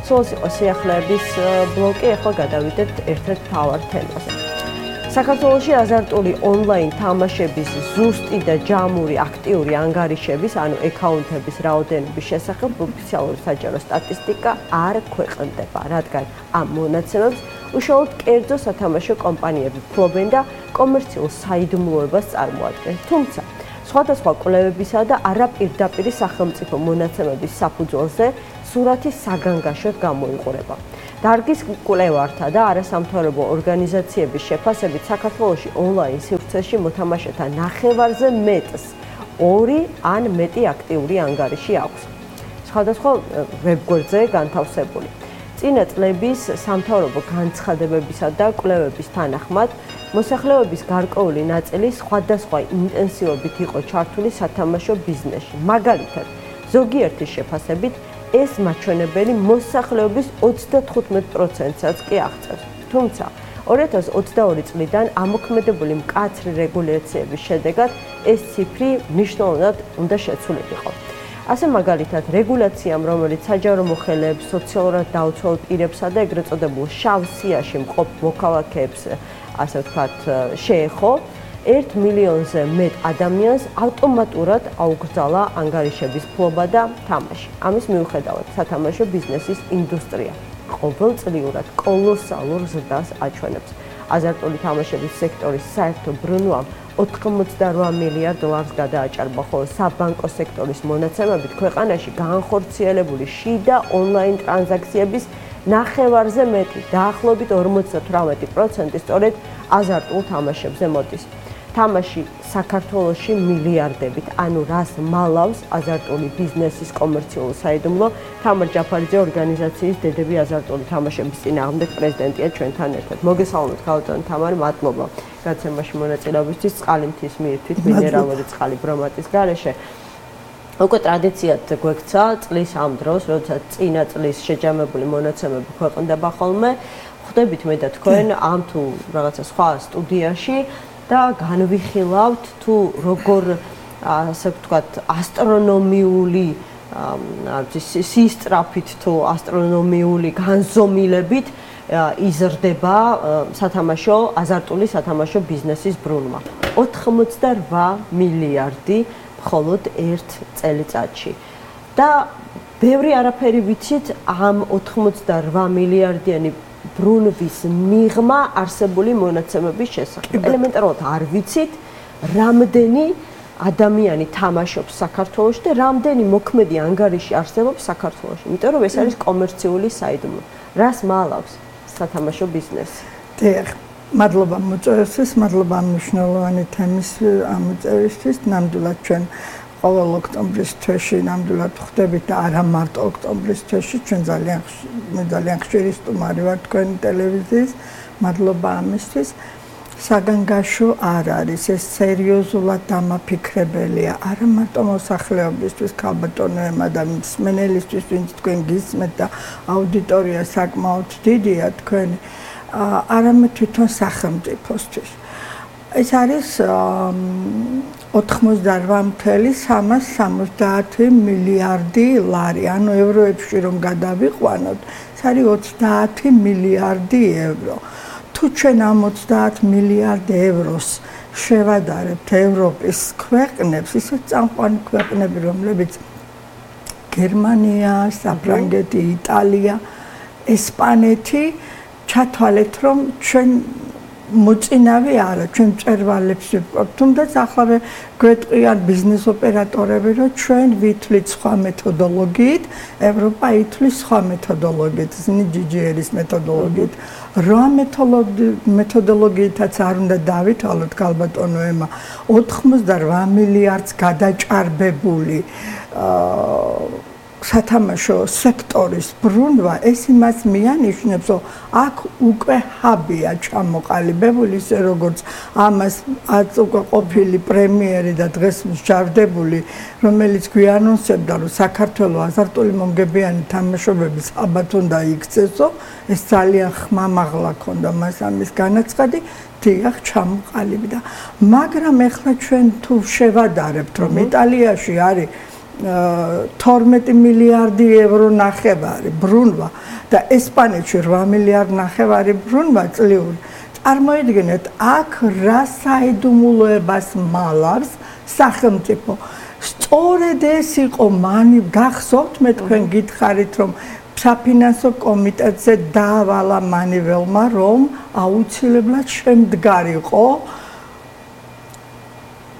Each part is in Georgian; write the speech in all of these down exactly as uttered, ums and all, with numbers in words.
საქართველოს იყო სიახლეების ბლოკი, ახლა გადავიდეთ ერთ-ერთ მთავარ თემაზე. საქართველოში აზარტული ონლაინ თამაშების ზუსტი და ჯამური აქტიური ანგარიშების, ანუ აკაუნტების რაოდენობის შესახებ ოფიციალური საჯარო სტატისტიკა არ ქვეყნდება, რადგან ამ მონაცემებს უშუალოდ კერძო სათამაშო კომპანიები ფლობენ და კომერციულ საიდუმლოებას წარმოადგენს. თუმცა სხვადასხვა კვლევებისა და არაპირდაპირი სახელმწიფო მონაცემების საფუძველზე სურათი საგანგაშოდ გამოიყურება. დარგის კვლევართა და არასამთავრობო ორგანიზაციების შეფასებით საქართველოში ონლაინ სივრცეში მოთამაშეთა ნახევარზე მეტს ორი ან მეტი აქტიური ანგარიში აქვს. სხვადასხვა ვებგვერდზე განთავსებული. წინა წლების სამთავრობო განცხადებებისა და კვლევების თანახმად მოსახლეობის გარკვეული ნაწილი სხვადასხვა ინტენსივობით იყო ჩართული სათამაშო ბიზნესში. მაგალითად, ზოგიერთის შეფასებით ეს მაჩვენებელი მოსახლეობის ოცდათხუთმეტ პროცენტსაც კი აღწევს. თუმცა ორი ათას ოცდაორი წლიდან ამოქმედებული მკაცრი რეგულაციების შედეგად ეს ციფრი მნიშვნელოვნად უნდა შეცვლილიყო. ასე მაგალითად, რეგულაციამ, რომელიც საჯარო მოხელეებს, სოციალურად დაუცველ პირებსა და ეგრეთ წოდებულ შავ სიაში მყოფ მოქალაქეებს, ასე ვთქვათ, შეეხო, ერთ მილიონზე მეტ ადამიანს ავტომატურად აუკრძალა ანგარიშების ფლობა და თამაში. ამის მიუხედავად, სათამაშო ბიზნესის ინდუსტრია ყოველწლიურად კოლოსალურ ზრდას აჩვენებს. აზარტული თამაშების სექტორის საერთო ბრუნვამ ოთხმოცდარვა მილიარდ დოლარს გადააჭარბა, ხოლო საბანკო სექტორის მონაცემებით ქვეყანაში განხორციელებული შიდა ონლაინ ტრანზაქციების ნახევარზე მეტი, დაახლოებით ორმოცდათვრამეტი პროცენტი სწორედ აზარტულ თამაშებზე მოდის. თამაში საქართველოში მილიარდებით, ანუ რას მალავს აზარტული ბიზნესის კომერციულ საიდუმლო. თამარ ჯაფარიძე ორგანიზაციის დედები აზარტული თამაშების წინააღმდეგ პრეზიდენტია ჩვენთან ერთად. მოგესალმებით, ქალბატონო თამარი, მადლობა გაცემაში მონაწილეობისთვის. წყალი მთის მიირთვით, მინერალური წყალი ბრომატის გარეშე. უკვე ტრადიციად გვექცა წლის ამ დროს, როდესაც წინა წლის შეჯამებული მონაცემები ქვეყნდება ხოლმე. ხვდებით მე და თქვენ ამ თუ რაღაცა სხვა სტუდიაში და განვიხილავთ თუ როგორ ასე ვთქვათ ასტრონომიული სისწრაფით თუ ასტრონომიული განზომილებით იზრდება სათამაშო აზარტული სათამაშო ბიზნესის ბრუნვა. ოთხმოცდარვა მილიარდი მხოლოდ ერთ წელიწადში. და ბევრი არაფერი ვიცით ამ ოთხმოცდარვა მილიარდიანი ბრუნვის მიღმა არსებული მონაცემების შესახებ. ელემენტარულად არ ვიცით, რამდენი ადამიანი თამაშობს საქართველოში და რამდენი მოქმედი ანგარიში არსებობს საქართველოში. იმიტომ რომ ეს არის კომერციული საიდუმლო. რას მალავს სათამაშო ბიზნესი? დიახ, მადლობა მოწვევისთვის, მადლობა მნიშვნელოვანი თემის ამოწევისთვის. ნამდვილად ჩვენ ყოველ ოქტომბრის თვეში ნამდვილად ხვდებით და არა მარტო ოქტომბრის თვეში, ჩვენ ძალიან ძალიან ხშირი სტუმარი ვარ თქვენი ტელევიზიის. მადლობა ამისთვის. საგანგაშო არ არის, ეს სერიოზულად დამაფიქრებელია, არა მარტო მოსახლეობისთვის, ქალბატონოებმა და მსმენელისთვის, ვინც თქვენ გისმენთ და აუდიტორია საკმაოდ დიდია თქვენი, არამედ თვითონ სახელმწიფოსთვის. ეს არის ოთხმოცდარვა მილიარდი სამას სამოცდაათი მილიარდი ლარი, ანუ ევროებში რომ გადავიყვანოთ, ეს არის ოცდაათი მილიარდი ევრო. თუ ჩვენ ამ ოცდაათ მილიარდ ევროს შევადარებთ ევროპის ქვეყნებს, ისეთ წამყვანი ქვეყნები, რომლებიც გერმანია, საფრანგეთი, იტალია, ესპანეთი, ჩათვალეთ, რომ ჩვენ მოწინავე არა, ჩვენ მწვერვალებს ვიპყრობთ, თუმცა ახლა გვეტყვიან ბიზნეს ოპერატორები, რომ ჩვენ ვითვლით სხვა მეთოდოლოგიით, ევროპა ითვლის სხვა მეთოდოლოგიით, ისინი ჯი ჯი ар-ის მეთოდოლოგიით. რა მეთოდოლოგიითაც არ უნდა დავითვალოთ ქალბატონოებმა, ოთხმოცდარვა მილიარდს გადაჭარბებული სათამაშო სექტორის ბრუნვა, ეს იმას მიანიშნებს, რომ აქ უკვე ჰაბია ჩამოყალიბებული, ისე როგორც ამას უკვე ყოფილი პრემიერი და დღეს მსჯავრდებული, რომელიც გვიანონსებდა, რომ საქართველოს აზარტული მომგებიანი თამაშობების აბათ უნდა იქცესო, ეს ძალიან ხმამაღლა ქონდა მას ამის განაცხადი, დიახ, ჩამოყალიბდა. მაგრამ ეხლა ჩვენ თუ შევადარებთ, რომ იტალიაში არის თორმეტი მილიარდი ევრო ნახევარი ბრუნვა და ესპანეთში რვა მილიარდი ნახევარი ბრუნვა წლიური. წარმოიდგინეთ, აქ რა საიდუმლოებას მალავს სახელმწიფო. სწორედ ეს იყო მანი გახსოვთ მე თქვენ გითხარით რომ საფინანსო კომიტეტზე დაავალა მანიველმა რომ აუცილებლად შემდგარიყო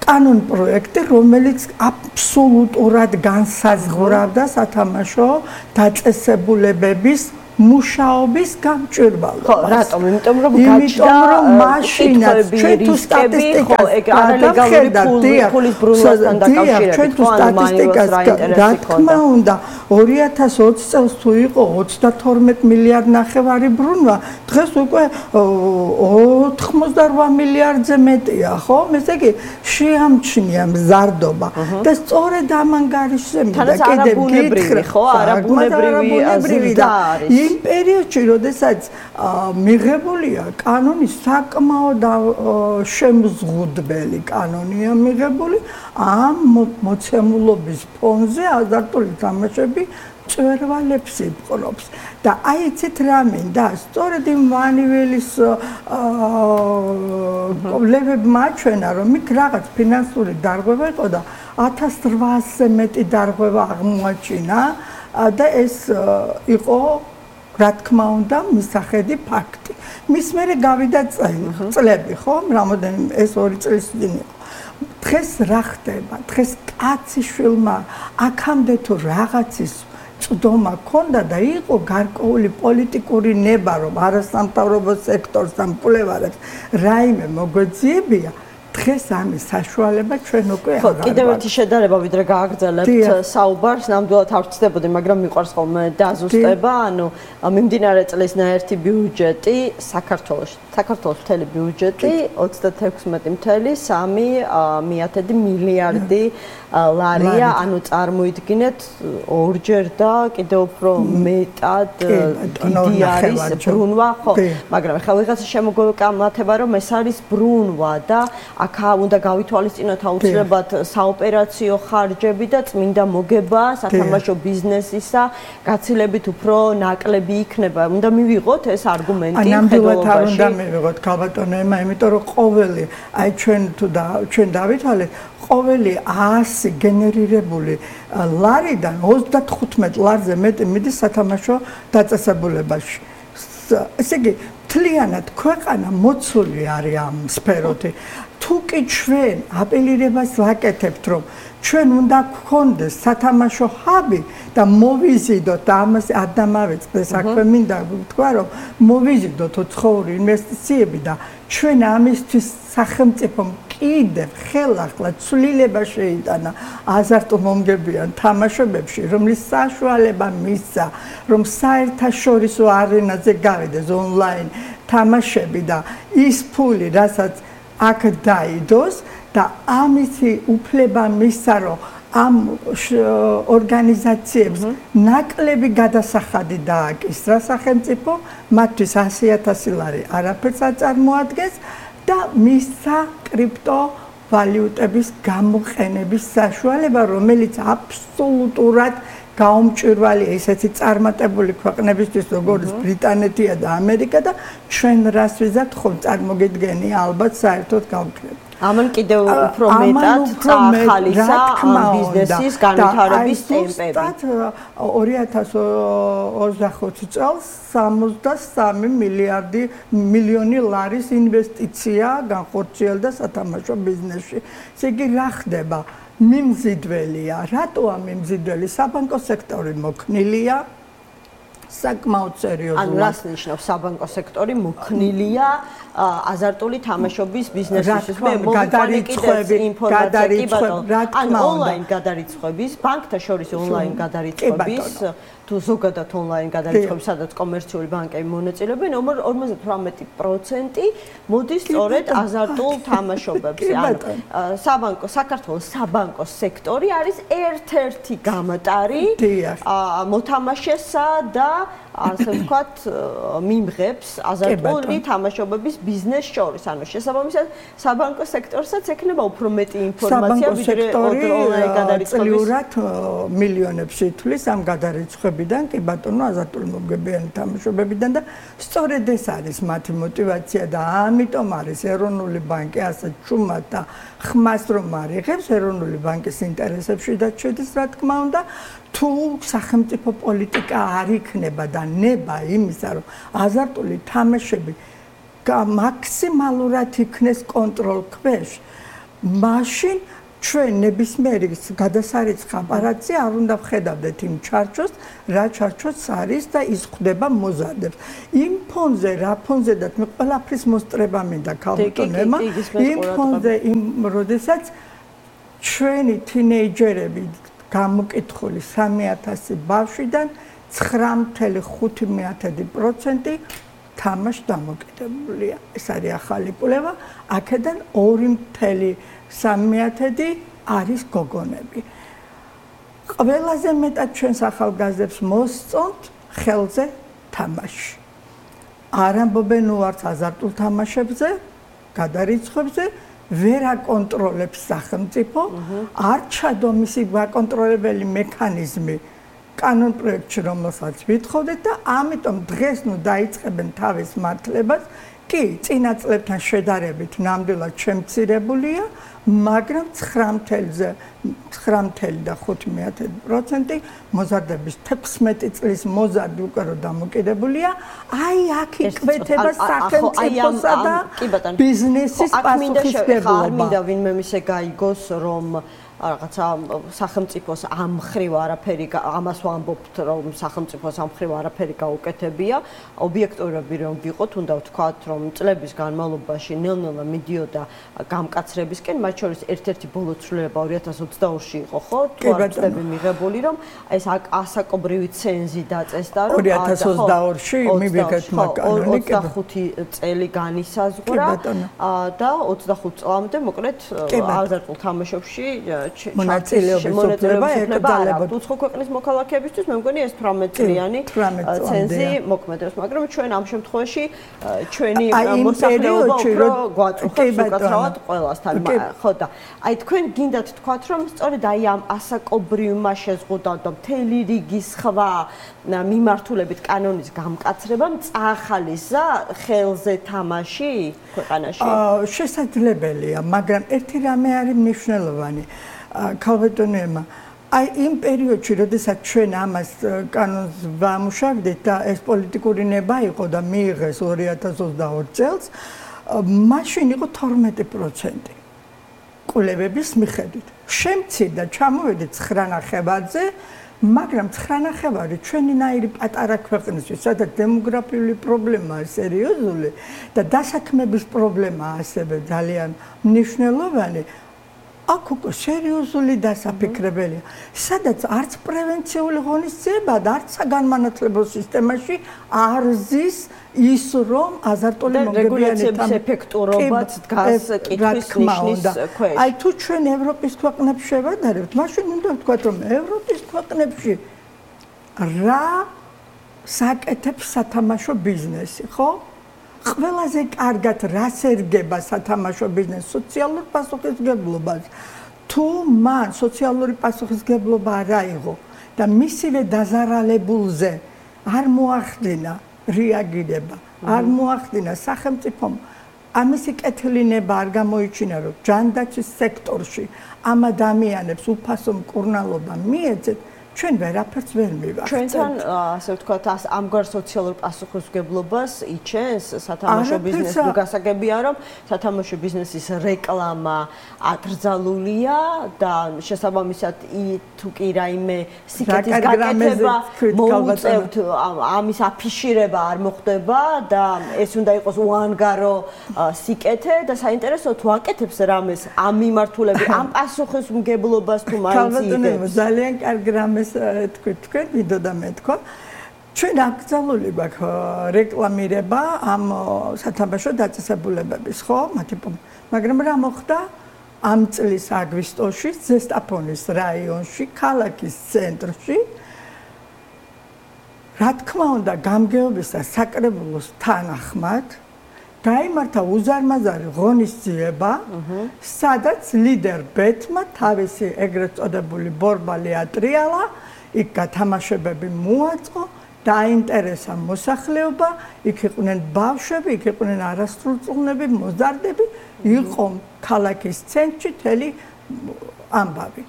კანონ პროექტი, რომელიც აბსოლუტურად განსაზღვრავდა სათამაშო დაწესებულებების მუშაობის გამჭვირვალობას. ხო, რატომ? იმიტომ რომ გაჩნდა მაშინაც ჩვენ თუ სტატისტიკას გადავხედავთ ფულის ბრუნვასთან დაკავშირებით, ხო, ანუ მანიველს რა ინტერესი ქონდა. რა უნდა ორი ათას ოცი წელს თუ იყო ოცდათორმეტი მილიარდი ნახევარი ბრუნვა, დღეს უკვე ოთხმოცდარვა მილიარდზე მეტია, ხო? ესე იგი შეამჩნია მზარდობა და სწორედ ამ ანგარიშზე მინდა კიდევ გითხრა, ხო, არაბუნებრივი და იმ პერიოდში, როდესაც მიღებულია კანონი, საკმაოდ შემზღუდველი კანონია მიღებული, ამ მოცემულობის ფონზე აზარტული თამაშები მწვერვალებს იპყრობს. და აი იცით რა მინდა, სწორედ იმ მანიველის კობლებმა აჩვენა, რომ იქ რაღაც ფინანსური დარღვევა იყო და ათას რვაასზე მეტი დარღვევა აღმოაჩინა და ეს იყო რა თქმა უნდა მისახედი ფაქტი. მის მერე გავიდა წლები, ხო? რამოდენიმე ეს ორი წლის წინ იყო. დღეს რა ხდება? დღეს კაცი შვილმა აქამდე თუ რაღაცის წვდომა ქონდა და იყო გარკვეული პოლიტიკური ნება, რომ არასამთავრობო სექტორს და მკვლევარებს რაიმე მოგვეძიებია. დღეს ამის საშუალება ჩვენ უკვე აღარ გვაქვს. კიდევ ერთი შედარება ვიდრე გააგრძელებთ საუბარს, ნამდვილად არ ვწდებოდი, მაგრამ მიყვარს ხოლმე დაზუსტება, ანუ მიმდინარე წლის ნაერთი ბიუჯეტი საქართველოში, საქართველოს მთელი ბიუჯეტი ოცდათექვსმეტი წუთი სამი მიათედი მილიარდი ლარია, ანუ წარმოიდგინეთ ორჯერ და კიდევ უფრო მეტად დიდი არის ბრუნვა, ხო, მაგრამ ახლა ვიღაცა შემოგვეკამათება, რომ ეს არის ბრუნვა და აქ უნდა გავითვალისწინოთ აუცილებლად საოპერაციო ხარჯები და წმინდა მოგება სათამაშო ბიზნესისა გაცილებით უფრო ნაკლები იქნება. უნდა მივიღოთ ეს არგუმენტი ნამდვილად არ უნდა მივიღოთ ქალბატონო ემა, იმიტომ რომ ყოველი აი ჩვენ თუ და ჩვენ დავითვალეთ ყოველი ასი გენერირებული ლარიდან ოცდათხუთმეტ ლარზე მეტი მიდის სათამაშო დაწესებულებაში. ესე იგი მთლიანად ქვეყანა მოცული არის ამ სფეროთი. თუ კი ჩვენ აპელირებას ვაკეთებთ, რომ ჩვენ უნდა გქონდეს სათამაშო ჰაბი და მოვიზიდოთ და ამას ადამავეწყდა საქმე მინდა ვთქვა, რომ მოვიზიდოთ უცხოური ინვესტიციები და ჩვენ ამისთვის სახელმწიფომ კიდევ ხელახლა ცვლილება შეიტანა აზარტომომგებიან თამაშობებში, რომლის საშუალება მისცა, რომ საერთაშორისო არენაზე გავიდეს ონლაინ თამაშები და ის ფული, რასაც აქ დაიდოს და ამისი უფლება მისცა, რომ ამ ორგანიზაციებს ნაკლები გადასახადი დააკისრა სახელმწიფო, მათთვის ასი ათასი ლარი არაფერს აწარმოადგენს და მისცა კრიპტო ვალუტების გამოყენების საშუალება, რომელიც აბსოლუტურად გაუმჭვირვალე ესეთი წარმატებული ქვეყნებისთვის, როგორც ბრიტანეთია და ამერიკა და ჩვენ რას ვიზართ ხომ წარმოგიდგენია ალბათ საერთოდ გავკრებით. ამან კიდევ უფრო მეტად წაახალისა ამ ბიზნესის განვითარების ტემპები. ორი ათას ოცდახუთი წელს სამოცდასამი მილიარდი მილიონი ლარის ინვესტიცია განხორციელდა სათამაშო ბიზნესში. ესე იგი რა ხდება? მიმზიდველია. რატოა მიმზიდველი? საბანკო სექტორი მოქნილია. საკმაოდ სერიოზულად. ანუ რას ნიშნავს საბანკო სექტორი მოქნილია აზარტული თამაშობის ბიზნესისთვის? მე გადარიცხვები, გადარიცხვები, ანუ ონლაინ გადარიცხვების, ბანკთა შორის ონლაინ გადარიცხვების თუ ზოგადად ონლაინ გადარიცხვები, სადაც კომერციული ბანკები მონაწილეობენ, ორმოცდაოთხ პროცენტი მოდის სწორედ აზარტულ თამაშობებზე. ანუ საბანკო საქართველოს საბანკო სექტორი არის ერთ-ერთი გამატარი მოთამაშესა და ასე ვთქვათ, მიმღებს აზარტული თამაშობების ბიზნეს შორის. ანუ შესაბამისად, საბანკო სექტორსაც ექნება უფრო მეტი ინფორმაცია, ვიდრე ონლაინ გადარიცხვების. წლიურად მილიონებს ითვლის ამ გადარიცხვებიდან, კი ბატონო, აზარტული მომგებიანი თამაშობებიდან და სწორედ ეს არის მათი мотиваცია და ამიტომ არის ეროვნული ბანკი ასე ჩუმად და ხმას რომ არიღებს ეროვნული ბანკის ინტერესებში და შედის, რა თქმა უნდა, თუ სახელმწიფო პოლიტიკა არ იქნება და ნება იმისა, რომ აზარტული თამაშები მაქსიმალურად იქნეს კონტროლ ქვეშ, მაშინ ჩვენ ნებისმიერი გადასარიცხ აპარატზე არ უნდა ვხედავდეთ იმ ჩარჩოს, რა ჩარჩოც არის და ის ხვდება მოზარდებს. იმ ფონზე, რა ფონზედაც მე ყველაფრის მოსწრება მინდა ქალბატონებმა, იმ ფონზე, იმ როდესაც ჩვენი თინეიჯერები გამოკითხული სამი ათასი ბავშვიდან ცხრა ხუთი პროცენტი თამაშ დამოკიდებულია. ეს არის ახალი კვლევა, აქედან ორი სამი არის გოგონები. ყველაზე მეტად ჩვენს ახალგაზრდებს მოსწონთ ხელზე თამაში. არ ამბობენ უარს აზარტულ თამაშებზე, გადარიცხვებზე, ვერ აკონტროლებს სახელმწიფო, არ ჩადო მისი გაკონტროლებელი მექანიზმი კანონ პროექტში, რომელსაც ვითხოვდეთ და ამიტომ დღეს ნუ დაიწყებენ თავის მართლებას. კი, წინა წლებთან შედარებით ნამდვილად შემცირებულია, მაგრამ ცხრა და ხუთი პროცენტი მოზარდების თექვსმეტი წლის მოზარდი უკვე რო დამოკიდებულია, აი აქ იკვეთება სახელმწიფოსა და ბიზნესის პასუხისმგებლობა. არ მინდა ვინმე მისე გაიგოს, რომ რაღაცა სახელმწიფოს ამ ხრივ არაფერი ამას ვამბობთ, რომ სახელმწიფოს ამ ხრივ არაფერი გაუკეთებია. ობიექტურები რომ ვიყოთ, უნდა ვთქვათ, რომ წლების განმავლობაში ნელ-ნელა მიდიოდა გამკაცრებისკენ, მათ შორის ერთ-ერთი ბოლო ცვლილება ორი ათას ოცდაორში იყო, ხო? თუ არ ვწდები მიღებული, რომ ეს ასაკობრივი ცენზი დაწესდა, რომ ორი ათას ოცდაორში მივიღეთ მაგალითად ოცდახუთი წელი განისაზღვრა და ოცდახუთ წლამდე მოკლედ აზარტულ თამაშებში მონაწილეობა ეკრძალებოდა. უცხო ქვეყნის მოქალაქეებისთვის მე მგონი ეს თვრამეტ წლიანი ცენზი მოქმედებს, მაგრამ ჩვენ ამ შემთხვევაში ჩვენი მოსახლეობა უფრო გვაწუხებს უკაცრავად ყველასთან. ხო და აი თქვენ გინდათ თქვათ, რომ სწორედ აი ამ ასაკობრივმა შეზღუდავთ და მთელი რიგი სხვა მიმართულებით კანონის გამკაცრებამ წაახალისა ხელზე თამაში ქვეყანაში? შესაძლებელია, მაგრამ ერთი რამე არის მნიშვნელოვანი. ქალბატონებმა, აი იმ პერიოდში, როდესაც ჩვენ ამას კანონს ვამუშავდით და ეს პოლიტიკური ნება იყო და მიიღეს ორი ათას ოცდაორ წელს, მაშინ იყო თორმეტი პროცენტი კვლევების მიხედვით. შემცირდა, ჩამოვედით ცხრა ნახევარზე, მაგრამ ცხრა ნახევარი ჩვენინაირი პატარა ქვეყნისთვის, სადაც დემოგრაფიული პრობლემაა სერიოზული და დასაქმების პრობლემაა ასევე ძალიან მნიშვნელოვანი. აქ უკვე სერიოზული დასაფიქრებელია, სადაც არც პრევენციული ღონისძიება და არც საგანმანათლებლო სისტემაში არ ზის ის, რომ აზარტული მომგებიანი ეფექტურობაც დგას კითხვის ნიშნის ქვეშ. აი თუ ჩვენ ევროპის ქვეყნებს შევადარებთ, მაშინ უნდა ვთქვათ, რომ ევროპის ქვეყნებში რა საკეთებს სათამაშო ბიზნესი, ხო? ყველაზე კარგად რას ერგება სათამაშო ბიზნესი სოციალურ პასუხისმგებლობას. თუ მან სოციალური პასუხისმგებლობა არ აიღო და მისივე დაზარალებულზე არ მოახდინა რეაგირება, არ მოახდინა სახელმწიფომ ამისი კეთილინება არ გამოიჩინა, რომ ჯანდაცვის სექტორში ამ ადამიანებს უფასო მკურნალობა მიეცეთ, ჩვენ ვერაფერს ვერ მივახცევთ. ჩვენთან ასე ვთქვათ, ამგვარ სოციალურ პასუხისმგებლობას იჩენს სათამაშო ბიზნესი, თუ გასაგებია, რომ სათამაშო ბიზნესის რეკლამა აკრძალულია და შესაბამისად თუ კი რაიმე სიკეთის გაკეთება მოუწევთ, ამის აფიშირება არ მოხდება და ეს უნდა იყოს უანგარო სიკეთე და საინტერესო თუ აკეთებს რამეს ამ მიმართულებით, ამ პასუხისმგებლობას თუ მაინც იღებს. ძალიან კარგი რამეს ეს თქვი თქვენ ვიდო და მეთქვა ჩვენ აკრძალული გვაქვს რეკლამირება ამ სათამაშო დაწესებულებების ხო მათი მაგრამ რა მოხდა ამ წლის აგვისტოში ზესტაფონის რაიონში ქალაქის ცენტრში რა თქმა უნდა გამგეობის და საკრებულოს თანახმად გაიმართა უზარმაზარი ღონისძიება სადაც ლიდერ ბეთმა თავისი ეგრეთ წოდებული ბორბალი ატრიალა იქ გათამაშებები მოაწყო დაინტერესა მოსახლეობა იქ იყვნენ ბავშვები იქ იყვნენ არასრულწლოვნები მოზარდები იყო ქალაქის ცენტრში თელი ამბავი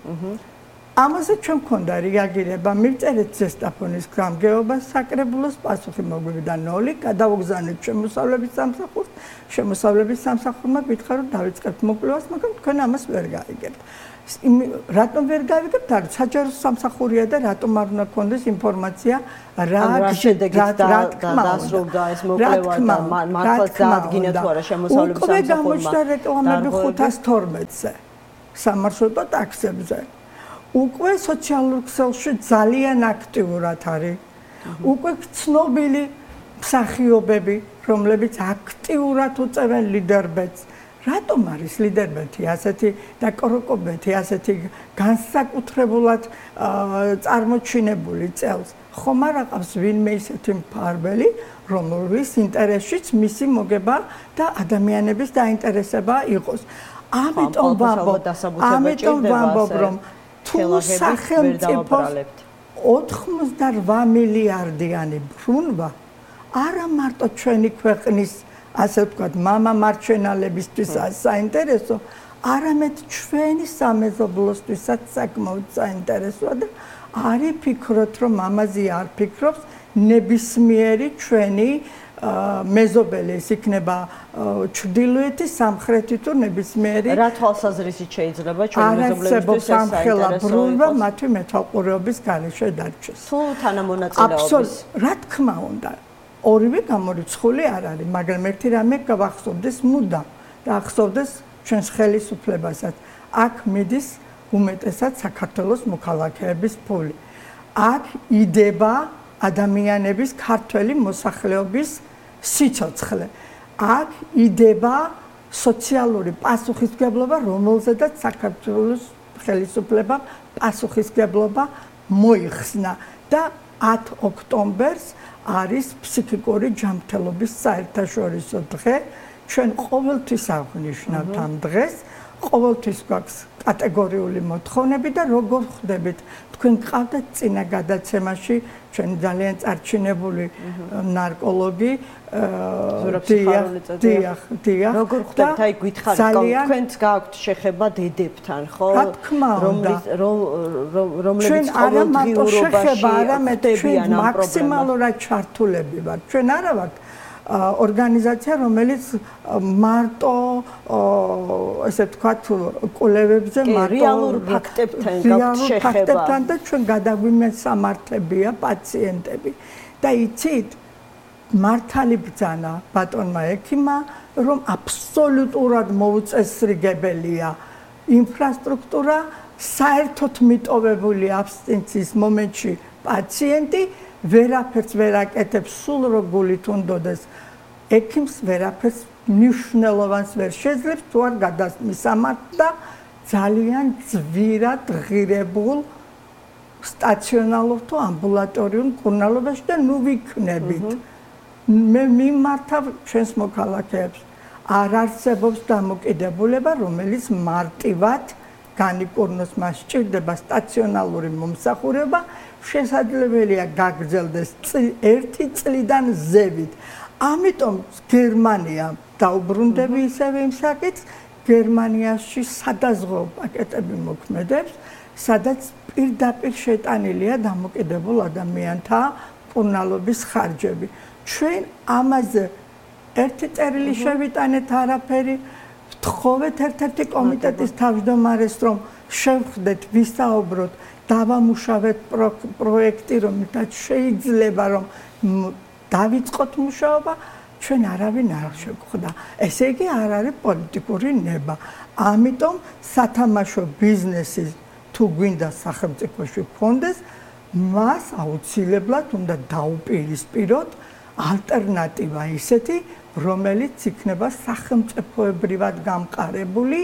ამაზე ჩვენ მქონდა რეაგირება მივწერეთ ზესტაფონის გამგეობას საკრებულოს პასუხი მოგვივიდა ნოლი გადავგზავნეთ შემოსავლების სამსახურს შემოსავლების სამსახურმა გითხრა რომ დავიწყებთ მოკვლევას მაგრამ თქვენ ამას ვერ გაიგებთ რატომ ვერ გავიგებთ არ საჯარო სამსახურია და რატომ არ უნდა გქონდეს ინფორმაცია რა შედეგით დასრულდა ეს მოკვლევა და მართლაც დაადგინა თუ არა შემოსავლების სამსახურმა უკვე გამოჩნდა რეკლამები ხუთას თორმეტზე სამარშრუტო ტაქსებზე უკვე სოციალურ ქსელში ძალიან აქტიურად არის. უკვე ცნობილი მსახიობები, რომლებიც აქტიურად უწევენ ლიდერბეთს. რატომ არის ლიდერბეთი ასეთი და კოროკობეთი ასეთი განსაკუთრებულად წარმოჩინებული წელს? ხომ არ აყავს ვინმე ისეთი მფარველი, რომლის ინტერესშიც მისი მოგება და ადამიანების დაინტერესება იყოს. ამიტომ ვამბობ, ამიტომ ვამბობ, რომ თუ სახელმწიფოს ოთხმოცდაოთხ მილიარდიანი ბრუნვა არა მარტო ჩვენი ქვეყნის ასე ვთქვათ მამა მარჩენალებისთვისაც საინტერესო არამედ ჩვენი სამეზობლოსთვისაც საკმაოდ საინტერესოა და არის ფიქრობთ რომ ამაზე არ ფიქრობს ნებისმიერი ჩვენი მეზობელი ის იქნება ჩრდილოეთი სამხრეთი თუ ნებისმიერი რა თვალსაზრისით შეიძლება ჩვენი მეზობლებისთვის საინტერესო ბრუნვა მათი მეთვალყურეობის გარეშე დარჩეს თუ თანამონაწილეობის რა თქმა უნდა ორივე გამორიცხული არ არის მაგრამ ერთი რამე გავახსოვდეს მუდამ და ახსოვდეს ჩვენს ხელისუფლებასაც აქ მიდის უმეტესად საქართველოს მოქალაქეების ფული აქ იდება ადამიანების ქართველი მოსახლეობის სიცოცხლე. აქ იდება სოციალური პასუხისმგებლობა, რომელზედაც საქართველოს ხელისუფლებამ პასუხისმგებლობა მოიხსნა და ათ ოქტომბერს არის ფსიქიკური ჯანმრთელობის საერთაშორისო დღე. ჩვენ ყოველთვის აღნიშნავთ ამ დღეს. ყოველთვის გვაქვს კატეგორიული მოთხოვნები და როგორ ხვდებით თქვენ გყავდათ წინა გადაცემაში ჩვენ ძალიან წარჩინებული ნარკოლოგი დიახ დიახ როგორ ხვდებით აი გითხარით თქვენც გაქვთ შეხება დედებთან ხო რომლის რომლებიც ყოველდღიურობაში ხვდებიან ამ მაქსიმალურად ჩართულები ვართ ჩვენ არა ვართ ორგანიზაცია რომელიც მარტო ესე ვთქვათ კვლევებზე მარტო რეალურ ფაქტებთან გაქვთ შეხება ფაქტებთან და ჩვენ გადაგვიმესამართებია პაციენტები და იცით მართალი ბრძანა ბატონმა ექიმმა რომ აბსოლუტურად მოუწესრიგებელია ინფრასტრუქტურა საერთოდ მიტოვებული აბსტინციის მომენტში პაციენტი ვერაფერს ვერ აკეთებს სულ რო გულით უნდოდეს ექიმს ვერაფერს მნიშვნელოვანს ვერ შეძლებს თუ არ გადამისამართ და ძალიან ძვირად ღირებულ სტაციონალურ თუ ამბულატორიულ მკურნალობაში და ნუ ვიქნებით მე მიმართავ ჩვენს მოქალაქეებს არ არსებობს დამოკიდებულება რომელიც მარტივად განიკურნოს მას სჭირდება სტაციონალური მომსახურება შესაძლებელია გაგრძელდეს ერთი წლიდან ზევით. ამიტომ გერმანია დაუბრუნდები ისევე იმ საკითხს, გერმანიაში სადაზღვეო პაკეტები მოქმედებს, სადაც პირდაპირ შეტანილია დამოკიდებულ ადამიანთა მკურნალობის ხარჯები. ჩვენ ამაზე ერთი წერილი შევიტანეთ არაფერი, ვთხოვეთ ერთ-ერთი კომიტეტის თავმჯდომარეს რომ შევხვდეთ, ვისაუბროთ დავამუშავეთ პროექტი, რომელთაც შეიძლება რომ დავიწყოთ მუშაობა, ჩვენ არავინ არ შეგხვდა. ესე იგი არ არის პოლიტიკური ნება. ამიტომ სათამაშო ბიზნესი თუ გვინდა სახელმწიფოში გქონდეს, მას აუცილებლად უნდა დაუპირისპიროთ ალტერნატივა ისეთი, რომელიც იქნება სახელმწიფოებრივად გამყარებული,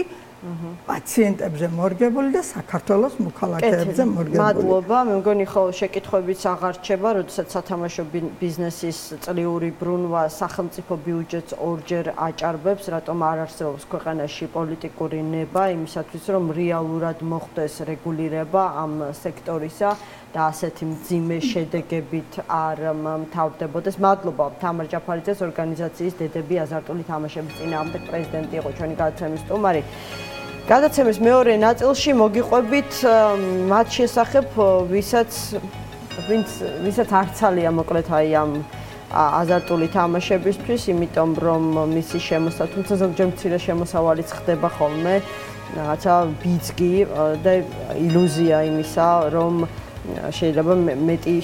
პაციენტებზე მორგებული და საქართველოს მოქალაქეებზე მორგებული. მადლობა, მე მგონი ხო შეკითხვებიც აღარ რჩება, როდესაც სათამაშო ბიზნესის წლიური ბრუნვა სახელმწიფო ბიუჯეტს ორჯერ აჭარბებს, რატომ არ არსებობს ქვეყანაში პოლიტიკური ნება იმისათვის, რომ რეალურად მოხდეს რეგულირება ამ სექტორისა და ასეთი მძიმე შედეგებით არ მთავრდებოდეს. მადლობა თამარ ჯაფარიძეს, ორგანიზაციის დედები აზარტული თამაშების წინააღმდეგ პრეზიდენტი იყო ჩვენი გადაცემის სტუმარი. გადაცემის მეორე ნაწილში მოგიყვებით მათ შესახებ, ვისაც ვინც ვისაც არცალია მოკლედ აი ამ აზარტული თამაშებისთვის, იმიტომ რომ მისი შემოსა, თუმცა ზოგჯერ მცირე შემოსავალიც ხდება ხოლმე, რაღაცა ბიძგი და ილუზია იმისა, რომ შეიძლება მეტი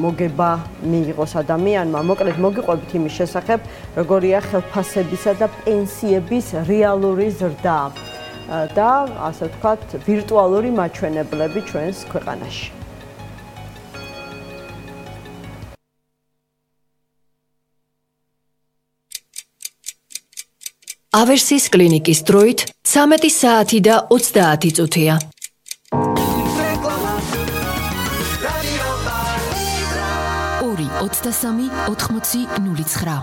მოგება მიიღოს ადამიანმა. მოკლედ მოგიყვებით იმის შესახებ, როგორია ხელფასებისა და პენსიების რეალური ზრდა და ასე ვთქვათ, ვირტუალური მაჩვენებლები ჩვენს ქვეყანაში. ავერსის კლინიკის დროით ცამეტი საათი და ოცდაათი წუთია. ორი ოცდასამი ოთხმოცი ნული ცხრა.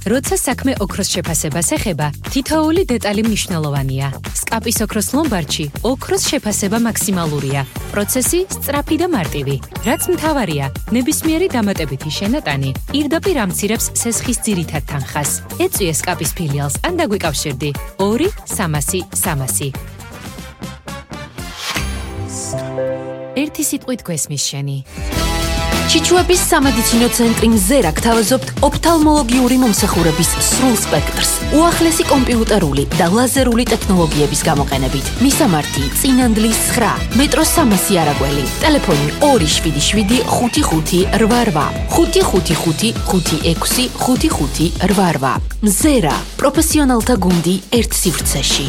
როცა საქმე ოქროს შეფასებას ეხება, თითოეული დეტალი მნიშვნელოვანია. სკაპის ოქროს ლომბარდში ოქროს შეფასება მაქსიმალურია. პროცესი სწრაფი და მარტივი. რაც მთავარია, ნებისმიერი დამატებითი შენატანი პირდაპირ ამცირებს სესხის ძირითად თანხას. ეწვიე სკაპის ფილიალს ან დაგვიკავშირდი ორი სამასი სამასი. ერთი სიტყვით გვესმის შენი. ჩიჩუების სამედიცინო ცენტრი მზერა გთავაზობთ ოფთალმოლოგიური მომსახურების სრულ სპექტრს, უახლესი კომპიუტერული და ლაზერული ტექნოლოგიების გამოყენებით. მისამართი წინანდლის ცხრა, მეტრო სამასი არაგველი, ტელეფონი ორი შვიდი შვიდი ხუთი ხუთი რვა რვა, ხუთი ხუთი ხუთი ხუთი ექვსი ხუთი ხუთი რვა რვა. მზერა, პროფესიონალთა გუნდი ერთ სივრცეში.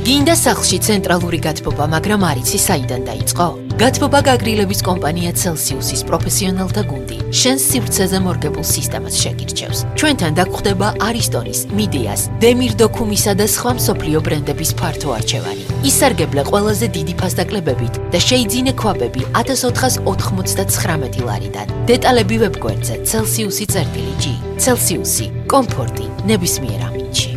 გინდა სახლში ცენტრალური გათბობა, მაგრამ არ იცი საიდან დაიწყო? გათბობა გაგრილების კომპანია Celsius-ის პროფესიონალთა გუნდი შენს სივრცეზე მორგებულ სისტემას შეგირჩევს. ჩვენთან დაგხვდება არისტონის, მიდიას, დემირ დოქუმისა და სხვა მსოფლიო ბრენდების ფართო არჩევანი. ისარგებლე ყველაზე დიდი ფასდაკლებებით და შეიძინე ქვაბები ათას ოთხას ოთხმოცდათხრამეტი ლარიდან. დეტალები ვებგვერდზე Celsius-ი წერტილი G. Celsius-ი, კომფორტი ნებისმიერ ამინდში.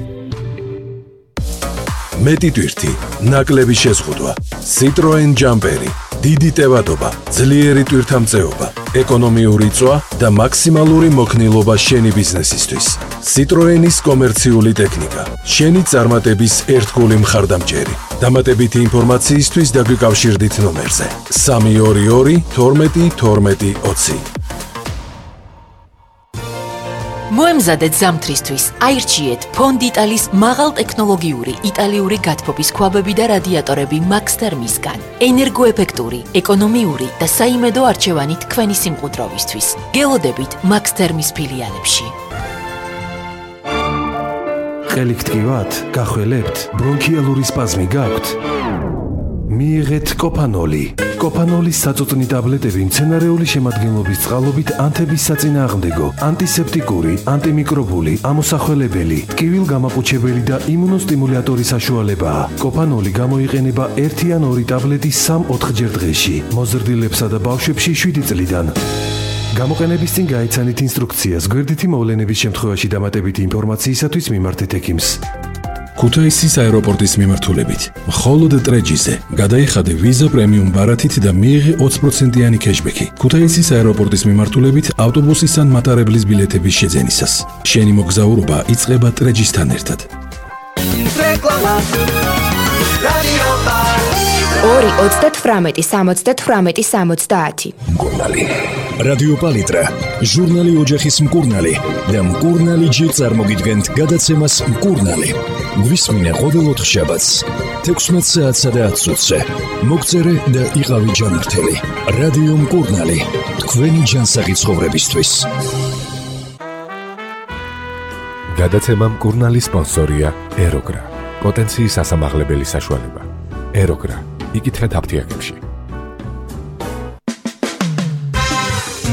მეტი ტვირთი, ნაკლები შეზღუდვა, Citroen ჯამპერი, დიდი ტევადობა, ძლიერი ტვირთამწეობა, ეკონომიური წვა და მაქსიმალური მოქნილობა შენი ბიზნესისთვის. Citroen-ის კომერციული ტექნიკა, შენი წარმატების ერთგული მხარდამჭერი. დამატებითი ინფორმაციისთვის დაგვიკავშირდით ნომერზე სამი ორი ორი თორმეტი თორმეტი ოცი. მოემზადეთ ზამთრისთვის, აირჩიეთ ფონდიტალის მაღალტექნოლოგიური იტალიური გათბობის ქვაბები და რადიატორები Max Thermis-გან. ენერგოეფექტური, ეკონომიური და საიმედო არჩევანი თქვენი სიმყუდროვისთვის. გელოდებით Max Thermis ფილიალებში. ყელი გტკივათ, გახველებთ, ბრონქიალური სპაზმი გაქვთ? მიიღეთ კოპანოლი. კოპანოლის საწუწნი ტაბლეტები მცენარეული შემადგენლობის წყალობით ანთების საწინააღმდეგო, ანტისეპტიკური, ანტიმიკრობული, ამოსახველებელი, ტკივილგამაყუჩებელი და იმუნოსტიმულატორი საშუალებაა. კოპანოლი გამოიყენება ერთი ან ორი ტაბლეტი სამ-ოთხჯერ დღეში, მოზრდილებსა და ბავშვებში შვიდი წლიდან. გამოყენების წინ გაიცანით ინსტრუქციას, გვერდითი მოვლენების შემთხვევაში დამატებითი ინფორმაციისათვის მიმართეთ ექიმს. ქუთაისის აეროპორტის მიმართულებით, მხოლოდ ტრეჯიზე გადაიხადე ვიზა პრემიუმ ბარათით და მიიღე ოცი პროცენტიანი კეშბექი. ქუთაისის აეროპორტის მიმართულებით ავტობუსის ან მატარებლის ბილეთების შეძენისას. შენი მოგზაურობა იწყება ტრეჯისთან ერთად. ორი ოცდათვრამეტი სამოცდათვრამეტი სამოცდაათი. მკურნალი. რადიო პალიტრა, ჟურნალი ოჯახის მკურნალი და მკურნალი ჯი წარმოგიდგენთ გადაცემას მკურნალი. გვისმინე ყოველ ოთხშაბათს, თექვსმეტ საათსა და ათ წუთზე. მოგწერე და იყავი ჯანმრთელი. რადიო მკურნალი, თქვენი ჯანსაღი ცხოვრებისთვის. გადაცემა მკურნალი სპონსორია ეროგრა. პოტენციის ასამაღლებელი საშუალება. ეროგრა იკითხეთ აფთიაქებში.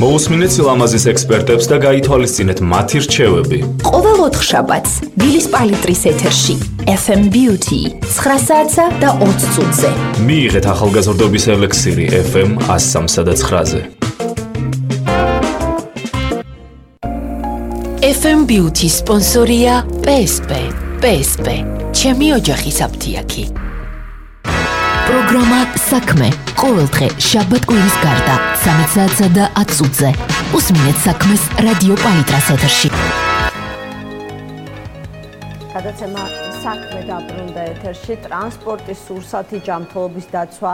მოусმინეთ სილამაზის ექსპერტებს და გაითვალისწინეთ მათი რჩევები. ყოველ ოთხშაბათს დილის პალიტრის ეთერში ეფ ემ Beauty ცხრა საათსა და ოცი წუთზე. მიიღეთ ახალგაზრდობის ელექსირი ეფ ემ εκατო სამსა და ცხრაზე. ეფ ემ Beauty სპონსორია პი ეს პი. პი ეს პი ჩემი ოჯახის აფთიაქი. პროგრამა საქმე ყოველდღე შაბათ-კვირის გარდა სამი საათსა და ათი წუთზე. უსმინეთ საქმეს რადიო პალიტრას ეთერში. გადაცემა საქმე დაბრუნდა ეთერში. ტრანსპორტის სურსათი, ჯანმრთელობის დაცვა,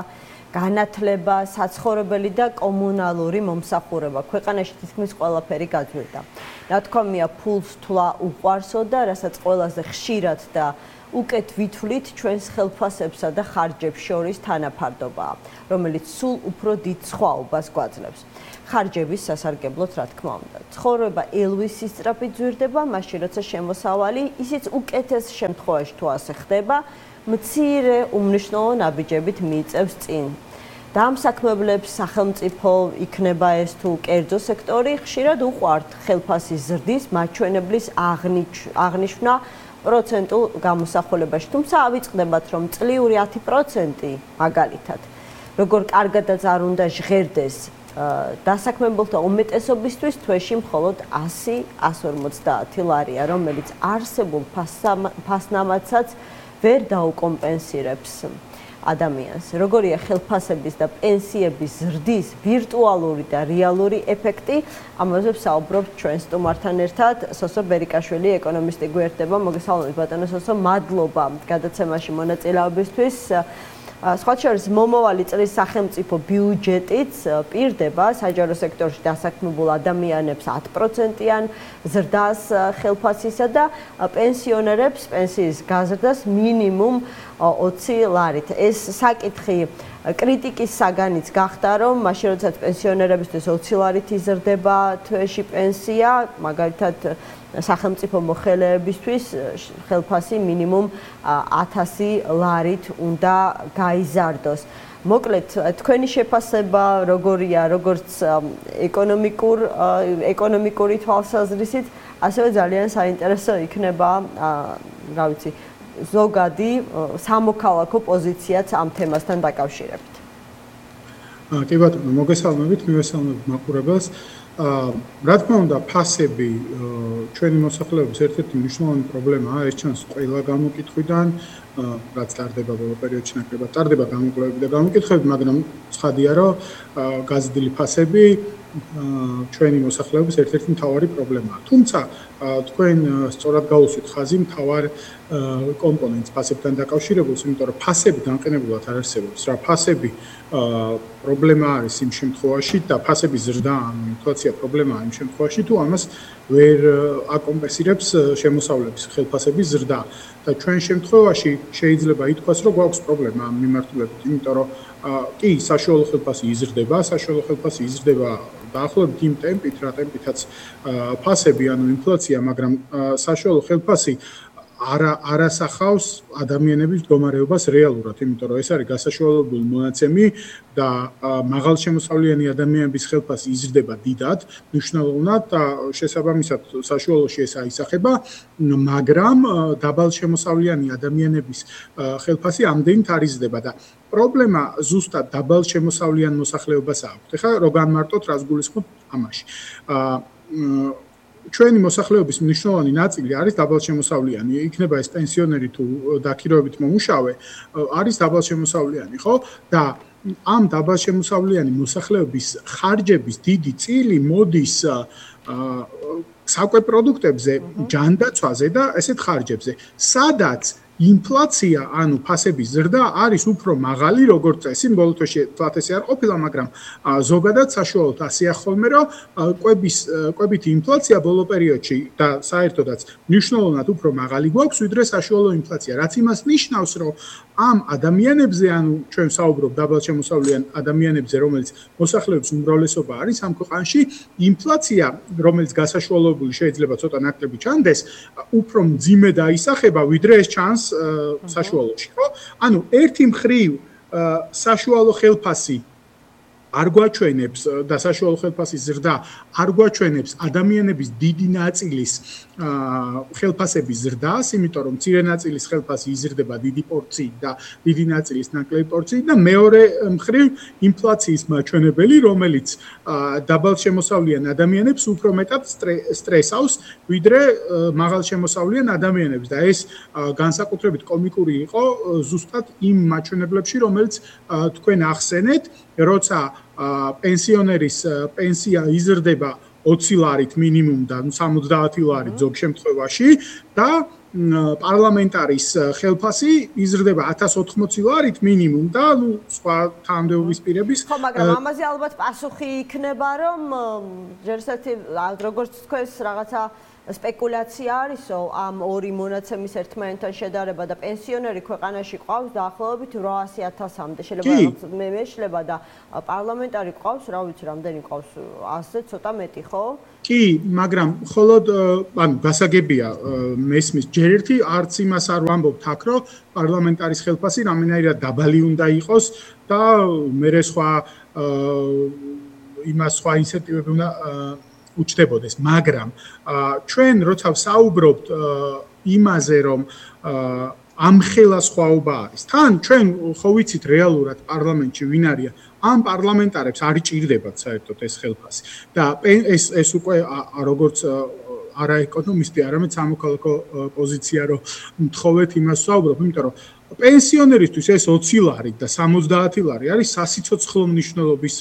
განათლება, საცხოვრებელი და კომუნალური მომსახურება. ქვეყანაში თითქმის ყველაფერი გაძვირდა. ნათქვამია, ფულს თვლა უყვარსო და რასაც ყველაზე ხშირად და უკეთ ვითვლით ჩვენს ხელფასებსა და ხარჯებს შორის თანაფარდობაა, რომელიც სულ უფრო დიდ სხვაობას გვაძლევს. ხარჯების სასარგებლოდ, რა თქმა უნდა. ცხოვრება ელვის სისწრაფით ძვირდება, მაშინ როცა შემოსავალი, ისიც უკეთეს შემთხვევაში თუ ასე ხდება, მცირე უმნიშვნელო ნაბიჯებით მიიწევს წინ. დამსაქმებლებს, სახელმწიფო, იქნება ეს თუ კერძო სექტორი, ხშირად უყვართ ხელფასის ზრდის მაჩვენებლის აღნიშვნა პროცენტულ გამოსახულებაში. თუმცა ავიწყდებათ, რომ წლიური ათი პროცენტი მაგალითად, როგორ კარგადაც არ უნდა ჟღერდეს დასაქმებელთა უმეტესობისთვის, თვეში მხოლოდ ასი ასი ორმოცდაათი ლარია, რომელიც არსებულ ფასნამაცაც ვერ დაუკომპენსირებს ადამიანს. როგორია ხელფასების და პენსიების ზრდის ვირტუალური და რეალური ეფექტი, ამაზე ვსაუბრობთ ჩვენ სტუმართან ერთად. სოსო ბერიკაშვილი, ეკონომისტი გვერდება. მოგესალმებით ბატონო სოსო, მადლობა გადაცემაში მონაწილეობისთვის. სხვა შორის მომავალი წლის სახელმწიფო ბიუჯეტიც პირდება საჯარო სექტორში დასაქმებულ ადამიანებს ათი პროცენტიან ზრდას ხელფასისა და პენსიონერებს პენსიის გაზრდას მინიმუმ ოცი ლარით. ეს საკითხი კრიტიკის საგანიც გახდა, რომ მაშინ როდესაც პენსიონერებისთვის ოცი ლარით იზრდება თვეში პენსია, მაგალითად სახელმწიფო მოხელეებისთვის ხელფასი მინიმუმ ათასი ლარით უნდა გაიზარდოს. მოკლედ, თქვენი შეფასება როგორია, როგორც ეკონომიკურ ეკონომიკური თვალსაზრისით, ასევე ძალიან საინტერესო იქნება, რა ვიცი, ზოგადი სამოქალაქო პოზიციაც ამ თემასთან დაკავშირებით. კი ბატონო, მოგესალმებით, მივესალმებით მაყურებელს. რა თქმა უნდა, ფასები ჩვენი მოსახლეობის ერთ-ერთი მნიშვნელოვანი პრობლემაა, ეს ჩანს ყველა გამოკითხვიდან, რაც ტარდება ბოლო პერიოდში ნაკლებად ტარდება გამოკვლევები და გამოკითხვები, მაგრამ ცხადია, რომ გაზრდილი ფასები ჩვენი მოსახლეობის ერთ-ერთი მთავარი პრობლემაა. თუმცა თქვენ სწორად გაუსვით ხაზი მთავარ კომპონენტს ფასებთან დაკავშირებულს, იმიტომ რომ ფასები განყენებულად არ არსებობს. რა ფასები პრობლემა არის იმ შემთხვევაში და ფასების ზრდა, ანუ ინფლაცია პრობლემაა იმ შემთხვევაში, თუ ამას ვერ აკომპენსირებს შემოსავლების ხელფასების ზრდა. და ჩვენ შემთხვევაში შეიძლება ითქვას, რომ გვაქვს პრობლემა ამ მიმართულებით, იმიტომ რომ კი, საშუალო ხელფასი იზრდება, საშუალო ხელფასი იზრდება დაახლოებით იმ ტემპით, რა ტემპითაც ფასები, ანუ ინფლაცია, მაგრამ საშუალო ხელფასი არა არასახავს ადამიანების მდგომარეობას რეალურად, იმიტომ რომ ეს არის გასაშუალებული მონაცემი და მაღალშემოსავლიანი ადამიანების ხელფასი იზრდება დიდად, მნიშვნელოვნად და შესაბამისად საშუალოში ეს აისახება, მაგრამ დაბალშემოსავლიანი ადამიანების ხელფასი ამდენით არ იზრდება და პრობლემა ზუსტად დაბალშემოსავლიან მოსახლეობას აქვს. ეხლა რო განმარტოთ, რას გულისხმობ ამაში. ჩვენი მოსახლეობის მნიშვნელოვანი ნაწილი არის დაბალშემოსავლიანი, იქნება ეს პენსიონერი თუ დაქირავებით მომუშავე, არის დაბალშემოსავლიანი, ხო? და ამ დაბალშემოსავლიანი მოსახლეობის ხარჯების დიდი წილი მოდის საკვე პროდუქტებზე, ჯანდაცვაზე და ესეთ ხარჯებზე, სადაც ინფლაცია, ანუ ფასების ზრდა არის უფრო მაღალი, როგორც წესი, ბოლო თვეში თვალთესი არ ყოფილა, მაგრამ ზოგადად საშუალოდ ასეა ხოლმე, რომ კვების კვებითი ინფლაცია ბოლო პერიოდში და საერთოდაც მნიშვნელოვნად უფრო მაღალი გვაქვს, ვიდრე საშუალო ინფლაცია, რაც იმას ნიშნავს, რომ ამ ადამიანებზე, ანუ ჩვენ ვსაუბრობ დაბალშემოსავლიან ადამიანებზე, რომელიც მოსახლეობის უმრავლესობა არის ამ ქვეყანაში, ინფლაცია, რომელიც გასაშუალებული შეიძლება ცოტა ნაკლები ჩანდეს, უფრო მძიმე დაისახება, ვიდრე ეს ჩანს საშუალოში, ხო? ანუ ერთი მხრივ საშუალო ხელფასი არ გვაჩვენებს და საშუალო ხელფასის ზრდა არ გვაჩვენებს ადამიანების დიდი ნაწილის ხელფასების ზრდას, იმიტომ რომ მცირე ნაწილის ხელფასი იზრდება დიდი პორციით და დიდი ნაწილის ნაკლები პორციით და მეორე მხრივ ინფლაციის მაჩვენებელი, რომელიც დაბალშემოსავლიან ადამიანებს უფრო მეტად სტრესავს, ვიდრე მაღალშემოსავლიან ადამიანებს და ეს განსაკუთრებით კომიკური იყო ზუსტად იმ მაჩვენებლებში, რომელიც თქვენ ახსენეთ, როცა პენსიონერის პენსია იზრდება ოცი ლარით მინიმუმ და სამოცდაათი ლარით ზოგ შემთხვევაში და პარლამენტარის ხელფასი იზრდება ათას ოთხმოცი ლარით მინიმუმ და ნუ სხვა თანამდებობის პირების ხო, მაგრამ ამაზე ალბათ პასუხი იქნება, რომ ჯერსერთი როგორც თქვენს რაღაცა სპეკულაცია არისო ამ ორი მონაცემის ერთმანეთთან შედარება და პენსიონერი ქვეყანაში ყავს დაახლოებით რვაასი ათასამდე. შეიძლება მე მეშლება და პარლამენტარი ყავს, რა ვიცი, რამდენი ყავს, ასზე ცოტა მეტი, ხო? კი, მაგრამ მხოლოდ ანუ გასაგებია მესმის ჯერ ერთი არც იმას არ ვამბობთ აქ, რომ პარლამენტარის ხელფასი რამდენადაც დაბალი უნდა იყოს და მერე სხვა იმას სხვა ინცენტივები უნდა უჩნდებოდეს, მაგრამ ჩვენ როცა ვსაუბრობთ იმაზე, რომ ამხელა სხვაობა არის. თან ჩვენ ხო ვიცით რეალურად პარლამენტში ვინ არია, ამ პარლამენტარებს არ იჭირდებათ საერთოდ ეს ხელფასი. და ეს ეს უკვე როგორც არა ეკონომისტი, არამედ სამოქალაქო პოზიცია, რომ მთხოვეთ იმას ვსაუბრობ, იმიტომ რომ პენსიონერისთვის ეს ოცი ლარი და სამოცდაათი ლარი არის სასიცოცხლო მნიშვნელობის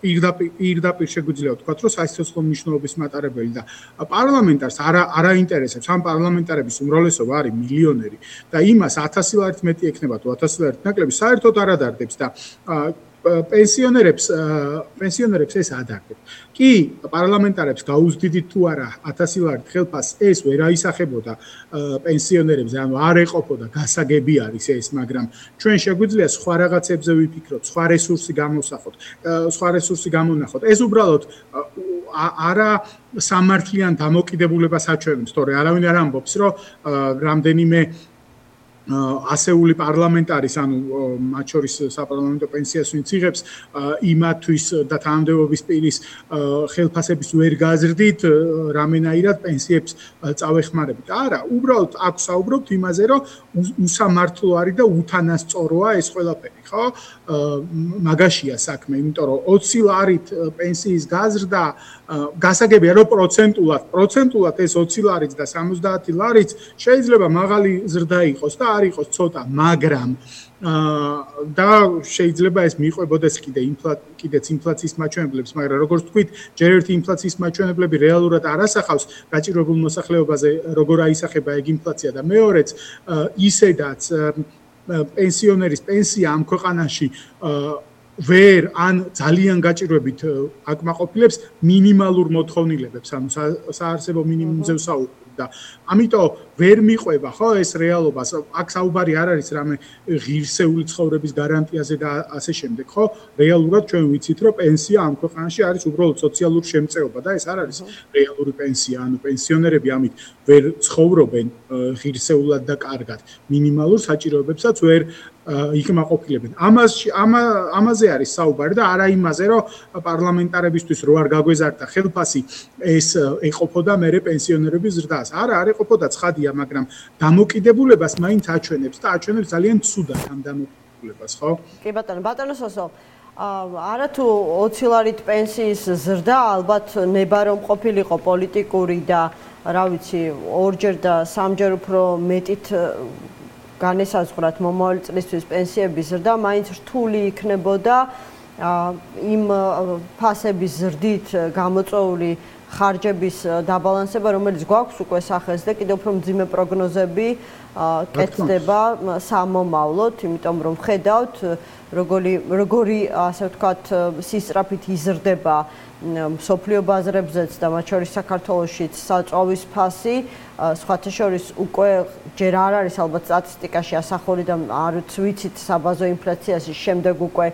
პირდაპირ შეგვიძლია ვთქვათ, რომ სასიცოცხლო მნიშვნელობის მატარებელი და პარლამენტარს არა არა ინტერესებს. ამ პარლამენტარების უმრავლესობა არის მილიონერი და იმას ათასი ლარით მეტი ექნება თუ ათასი ლარით ნაკლები საერთოდ არ ადარდებს და პენსიონერებს პენსიონერებს ეს ადარდებს. კი, პარლამენტარებს გაუზდიდით თუ არა ათასი ლარით ხელფასს, ეს ვერ აისახებოდა პენსიონერებს, ანუ არ ეყოფოდა, გასაგები არის ეს, მაგრამ ჩვენ შეგვიძლია სხვა რაღაცებზე ვიფიქროთ, სხვა რესურსი გამოსახოთ, სხვა რესურსი გამონახოთ. ეს უბრალოდ არა სამართლიან დამოკიდებულებას აჩვენებს, თორე არავინ არ ამბობს, რომ რამდენიმე ასეული პარლამენტარის, ანუ მათ შორის საპარლამენტო პენსიას ვინც იღებს, იმათვის და თანამდებობის პირის ხელფასების ვერ გაზრდით, რამენაირად პენსიებს წავეხმარებით. არა, უბრალოდ აქ საუბრობთ იმაზე, რომ უსამართლო არის და უთანასწოროა ეს ყველაფერი, ხო? მაგაშია საქმე, იმიტომ რომ ოცი ლარით პენსიის გაზრდა გასაგებია, რომ პროცენტულად, პროცენტულად ეს ოცი ლარიც და სამოცდაათი ლარიც შეიძლება მაღალი ზრდა იყოს და არ იყოს ცოტა, მაგრამ და შეიძლება ეს მიყვებოდეს კიდე კიდეც ინფლაციის მაჩვენებლებს, მაგრამ როგორც თქვით, ჯერ ერთი ინფლაციის მაჩვენებლები რეალურად არ ასახავს გაჭირვებულ მოსახლეობაზე როგორ აისახება ეგ ინფლაცია და მეორეც ისედაც პენსიონერის პენსია ამ ქვეყანაში ვერ ან ძალიან გაჭირვებით აკმაყოფილებს მინიმალურ მოთხოვნილებებს, ანუ საარსებო მინიმუმზე ვსაუბრობ და ამიტომ ვერ მიყვება ხო ეს რეალობა. აქ საუბარი არ არის რამე ღირსეული ცხოვრების გარანტიაზე და ასე შემდეგ, ხო? რეალურად ჩვენ ვიცით, რომ პენსია ამ ქვეყანაში არის უბრალოდ სოციალური შემწეობა და ეს არ არის რეალური პენსია, ანუ პენსიონერები ამით ვერ ცხოვრობენ ღირსეულად და კარგად. მინიმალურ საჭიროებებსაც ვერ იკმაყოფილებენ. ამაში ამაზე არის საუბარი და არა იმაზე, რომ პარლამენტარებისთვის რო არ გაგვეზარდა ხელფასი, ეს ეყოფოდა მერე პენსიონერების ზრდას. არა, არ ეყოფოდა, ცხადია, მაგრამ დამოკიდებულებას მაინც აჩვენებს და აჩვენებს ძალიან ცუდად ამ დამოკიდებულებას, ხო? კი ბატონო, ბატონო სოსო, არა თუ ოცი ლარით პენსიის ზრდა ალბათ ნება რომ ყოფილიყო პოლიტიკური და რა ვიცი, ორჯერ და სამჯერ უფრო მეტით განესაზღვრათ მომავალი წლისთვის პენსიების ზრდა, მაინც რთული იქნებოდა იმ ფასების ზრდით გამოწვეული ხარჯების დაბალანსება, რომელიც გვაქვს უკვე სახეს და კიდევ უფრო მძიმე პროგნოზები კეთდება სამომავლოდ, იმიტომ რომ ხედავთ როგორი როგორი ასე ვთქვათ სისწრაფით იზრდება მსოფლიო ბაზრებზეც და მათ შორის საქართველოშიც საწვავის ფასი, სხვათა შორის უკვე ჯერ არ არის ალბათ სტატისტიკაში ასახული და არც ვიცით საბაზო ინფლაციაში შემდეგ უკვე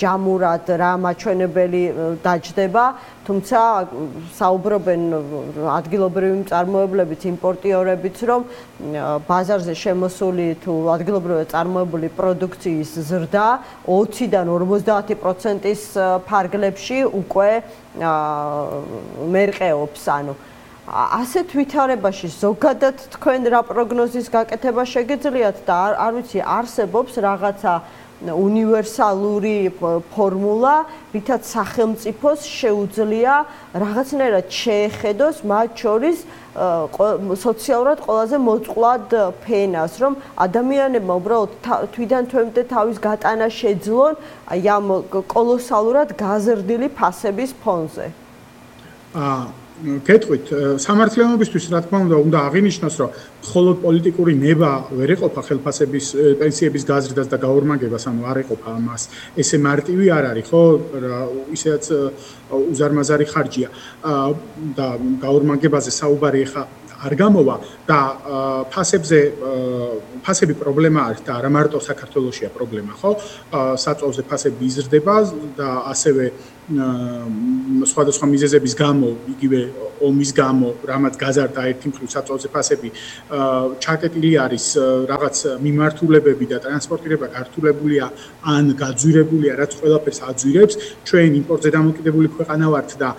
ჯამურად რა მაჩვენებელი დაჯდება, თუმცა საუბრობენ ადგილობრივი მწარმოებლებიც, იმპორტიორებიც, რომ ბაზარზე შემოსული თუ ადგილობრივად წარმოებული პროდუქციის ზრდა ოციდან ორმოცდაათი პროცენტის ფარგლებში უკვე მერყეობს, ანუ ასეთ ვითარებაში ზოგადად თქვენ რა პროგნოზის გაკეთება შეგეძლიათ და არ ვიცი არსებობს რაღაცა უნივერსალური ფორმულა, რითაც სახელმწიფოს შეუძლია რაღაცნაირად შეეხედოს მათ შორის სოციალურად ყველაზე მოწყვლად ფენას, რომ ადამიანებმა უბრალოდ თვიდან თვემდე თავის გატანა შეძლონ აი ამ კოლოსალურად გაზრდილი ფასების ფონზე. აა გეტყვით, სამართლიანობისთვის რა თქმა უნდა, უნდა აღინიშნოს, რომ მხოლოდ პოლიტიკური ნება ვერ ეყოფა ხელფასების პენსიების გაზრდას და გაორმაგებას, ანუ არ ეყოფა ამას. ესე მარტივი არ არის, ხო? ისედაც უზარმაზარი ხარჯია და გაორმაგებაზე საუბარი ეხა არ გამოვა და ფასებზე ფასები პრობლემა არის და არა მარტო საქართველოშია პრობლემა, ხო? საწოლზე ფასები იზრდება და ასევე სხვადასხვა მიზეზების გამო, იგივე ომის გამო, რამაც გაზარდა ერთი მხრივ საწოლზე ფასები, ჩაკეტილი არის რაღაც მიმართულებები და ტრანსპორტირება გართულებულია ან გაძვირებულია, რაც ყველაფერს აძვირებს. ჩვენ იმპორტზე დამოკიდებული ქვეყანა ვართ და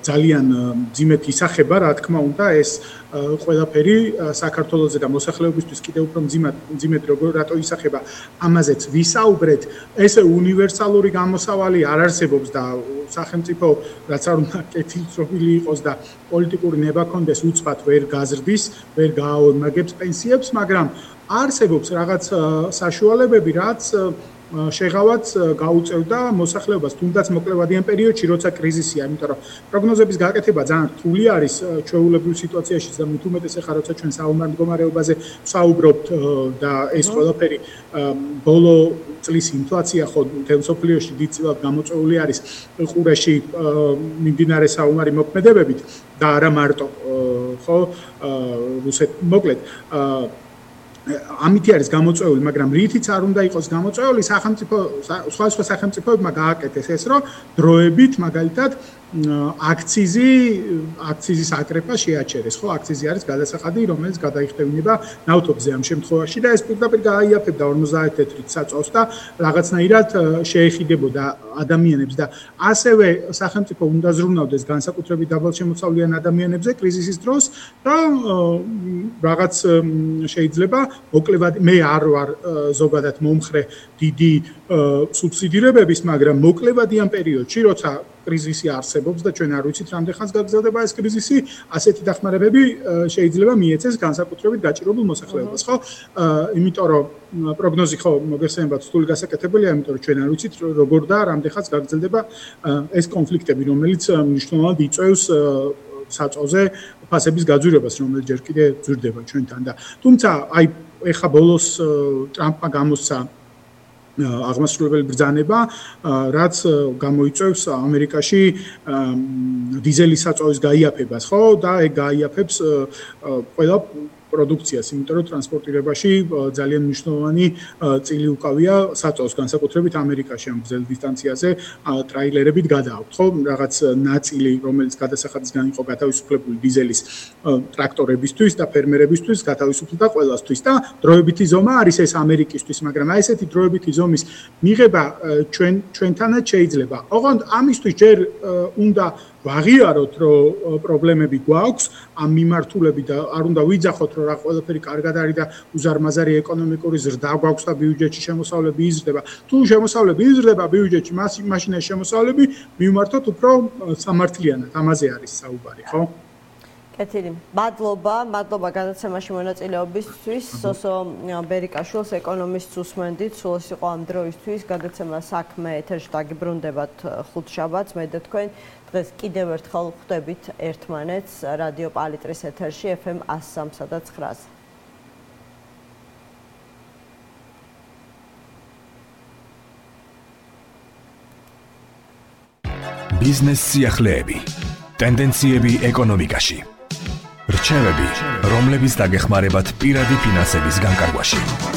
ძალიან მძიმედ ისახება, რა თქმა უნდა, ეს ყველაფერი საქართველოზე და მოსახლეობისთვის კიდევ უფრო მძიმედ მძიმედ როგორ რატო ისახება, ამაზეც ვისაუბრეთ. ესე უნივერსალური გამოსავალი არ არსებობს და სახელმწიფო რაც არ უნდა კეთილწრობილი იყოს და პოლიტიკური ნება კონდეს უცბად ვერ გაზრდის, ვერ გააორმაგებს პენსიებს, მაგრამ არსებობს რაღაც საშუალებები, რაც შეღავაც გაუწევდა მოსახლეობას, თუნდაც მოკლევადიან პერიოდში, როცა კრიზისია, იმიტომ რომ პროგნოზების გაკეთება ძალიან რთული არის ჩვეულებრივ სიტუაციაში და მით უმეტეს ახლა როცა ჩვენ საომარ მდგომარეობაზე ვსაუბრობთ და ეს ყველაფერი ბოლო წლის ინფლაცია ხო მთელ მსოფლიოში დიდწილად გამოწვეული არის ყურეში მიმდინარე საომარი მოქმედებებით და არა მარტო ხო რუსეთ მოკლედ ამითი არის გამოწვეული, მაგრამ რითიც არ უნდა იყოს გამოწვეული, სახელმწიფო სხვა სხვა სახელმწიფოებმა გააკეთეს ეს, რომ დროებით მაგალითად აქციზი აქციზის აკრეფა შეაჩერეს, ხო? აქციზი არის გადასახადი, რომელიც გადაიხდევინება ნავთობზე ამ შემთხვევაში და ეს პირდაპირ გააიაფებდა ორმოცდაათი თეთრით საწოლს და რაღაცნაირად შეეხიდებოდა ადამიანებს და ასევე სახელმწიფო უნდა ზრუნავდეს განსაკუთრებით დაბალშემოსავლიან ადამიანებზე კრიზისის დროს და რაღაც შეიძლება მოკლევად მე არ ვარ ზოგადად მომხრე დიდი სუბსიდირებების, მაგრამ მოკლევადიან პერიოდში, როცა კრიზისი არსებობს და ჩვენ არ ვიცით რამდენ ხანს გაგრძელდება ეს კრიზისი, ასეთი დახმარებები შეიძლება მიეცეს განსაკუთრებით გაჭირებულ მოსახლეობას, ხო? იმიტომ რომ პროგნოზი ხო მოგესწრებათ რთული გასაკეთებელია, იმიტომ რომ ჩვენ არ ვიცით როგორ და რამდენ ხანს გაგრძელდება ეს კონფლიქტები, რომელიც მნიშვნელოვნად იწვევს საწოლზე ფასების გაძვირებას, რომელიც ჯერ კიდე ძვირდება ჩვენთან და თუმცა აი ეხა ბოლოს ტრამპმა გამოსცა აღმასრულებელი ბრძანება, რაც გამოიწვევს ამერიკაში დიზელის საწოვის გაიაფებას, ხო? და ეგ გაიაფებს ყველა პროდუქციას, იმიტომ რომ ტრანსპორტირებაში ძალიან მნიშვნელოვანი წილი უკავია საწოლს, განსაკუთრებით ამერიკაში ამ გრძელ დისტანციაზე ტრაილერებით გადააქვთ, ხო? რაღაც ნაწილი, რომელიც გადასახადისგან იყო გათავისუფლებული დიზელის ტრაქტორებისთვის და ფერმერებისთვის, გათავისუფლდა ყველასთვის და დროებითი ზომა არის ეს ამერიკისთვის, მაგრამ აი ესეთი დროებითი ზომის მიღება ჩვენ ჩვენთანაც შეიძლება. ოღონდ ამისთვის ჯერ უნდა ვაღიაროთ, რომ პრობლემები გვაქვს ამ მიმართულებით და არ უნდა ვიძახოთ, რომ რა ყველაფერი კარგად არის და უზარმაზარი ეკონომიკური ზრდა გვაქვს და ბიუჯეტში შემოსავლები იზრდება. თუ შემოსავლები იზრდება ბიუჯეტში, მაშინ ეს შემოსავლები მივმართოთ უფრო სამართლიანად, ამაზე არის საუბარი, ხო? კეთილი. მადლობა, მადლობა გადაცემაში მონაწილეობისთვის. სოსო ბერიკაშვილს ეკონომისტს უსმენდით, სულს იყო ამ დროისთვის. გადაცემა საქმე ეთერში დაგიბრუნდებათ ხუთშაბათს, მე და თქვენ დღეს კიდევ ერთხელ ხვდებით ერთმანეთს რადიო პალიტრის ეთერში ეფ ემ one oh three და nine-ზე. ბიზნეს სიახლეები, ტენდენციები ეკონომიკაში. რჩევები, რომლებიც დაგეხმარებათ პირადი ფინანსების განკარგვაში.